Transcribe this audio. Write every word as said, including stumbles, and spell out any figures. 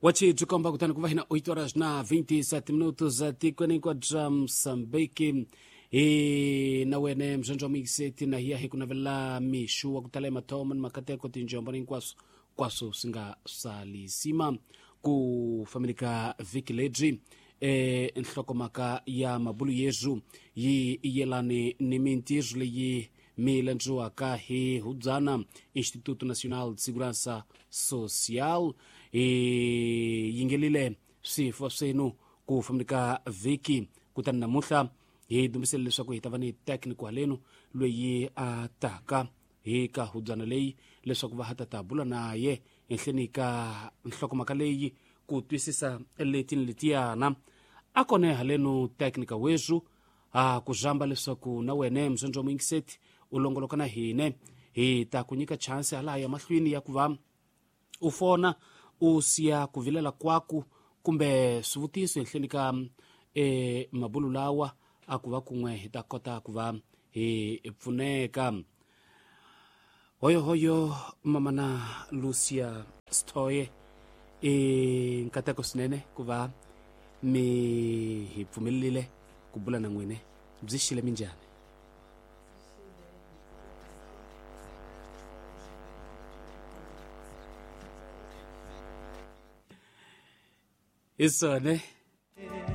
Wachi byi kutani ku va hina oito horas na vinte e sete minutos etikweni hinkwaro bya Mosambiki. Hi na wene mzondzo wa muyingiseti na hiya hi ku navelela mixu wa ku tala emathomo ni makateko, tinjombo ni hinkwaswo kwaswo swi nga salisima ku fambeni ka vhiki lebyi. E nhlokomhaka ya mabulu yezu yi yelani ni mintirho leyi mi landziwaka hi hubyana Instituto Nacional de Segurança Social. Hi yingelile swifo swenu ku fambeni ka vhiki, kutani namuntlha hi dumbisele leswaku hi ta va ni técnico halenu loyi a taka hi ka hubyana leyi leswaku va ha ta ta bula na ye henhleni ka nhlokomhaka leyi ku twisisa leti ni letiyana. A kone halenu técnica wezu a ku zamba leswaku na wene muzondzo wa muyingiseti u longoloka na hine, hi ta ku nyika chance hala ya mahlweni ya ku va u fona u siya ku vilela kwaku kumbe swivutiso henhleni ka e mabulu lawa, a ku va kun'we hi ta kota ku va hi pfuneka. Hoyohoyo mamana Lucia Stoye, i nkateko swinene ku va mi hi pfumelelile ku bula na n'wine. Byi xile, minjhani? Hi swona.